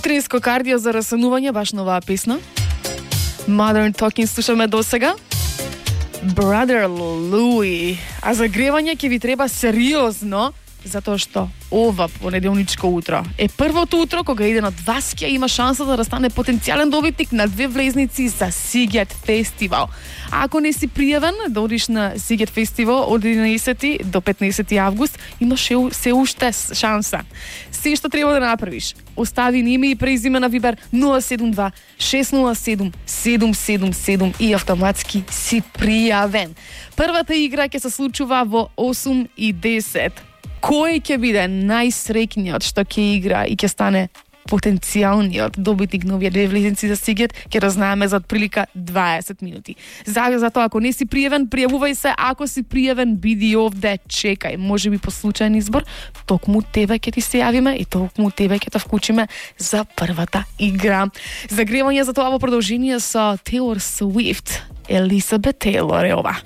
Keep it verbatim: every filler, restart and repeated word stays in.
Утринско кардио за расанување, баш на оваа песна. Modern Talking слушаме досега. Brother Louie. А за гревање ќе ви треба сериозно, затоа што ова понеделничко утро е првото утро кога еден од вас ќе има шанса да стане потенцијален добитник на две влезници за Сигет фестивал. А ако не си пријавен да одиш на Сигет фестивал од единаесети до петнаесети август, имаш се уште шанса. Се што треба да направиш, остави ни име и презиме на Вибер нула седум два шест нула седум седум седум седум и автоматски си пријавен. Првата игра ќе се случува во осум и десет. Кој ќе биде најсреќниот што ќе игра и ќе стане потенцијалниот добитник на овие две влезници за Сигет, ќе разнаеме за отприлика дваесет минути. За затоа ако не си пријавен, пријавувај се, ако си пријавен, биди овде, чекај. Можеби по случајен избор, токму тебе ќе ти се јавиме и токму тебе ќе те вклучиме за првата игра. Загревање за тоа во продолжение со Taylor Swift. Elizabeth Taylor е ова.